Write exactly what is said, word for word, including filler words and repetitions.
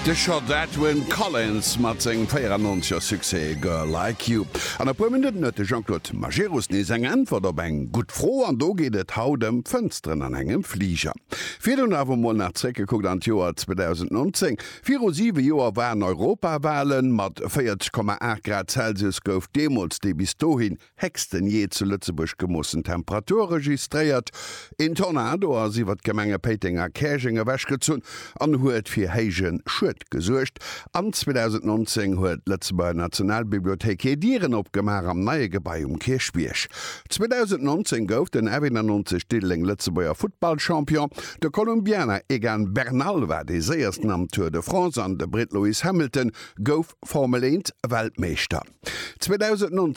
De Schott Edwyn Collins mat sengem véierannonzeger Succès Girl Like You. An e puer Minutten huet de Jean-Claude Majerus nees eng Äntwert op eng gutt Fro an do geet et haut ëm Fënsteren an engem Fliger. Virdrun awer mol nach zréckgekuckt an d'Joer zweedausendnonzéng. Viru siwe Joer waren Europawalen. Mat véierzeg Komma aacht Grad Celsius gouf deemools déi bis dohin héchsten jee zu Lëtzebuerg gemoossen Temperatur registréiert. Een Tornado ass iwwer d'Gemenge Péiteng a Käerjeng ewechgezunn an huet fir héije Schued gesuergt. An zweedausendnonzéng huet d'Lëtzebuerger Nationalbibliothéik hir Dieren opgemaach am neie Gebai um Kierchbierg. zweedausendnonzéng gouf den F eenannonzeg Diddeleng Lëtzebuerger Futtballchampion. De Kolumbianer Egan Bernal war dee séiersten am Tour de France an de Britt Lewis Hamilton gouf Formel eent Weltmeeschter. zweedausendnonzéng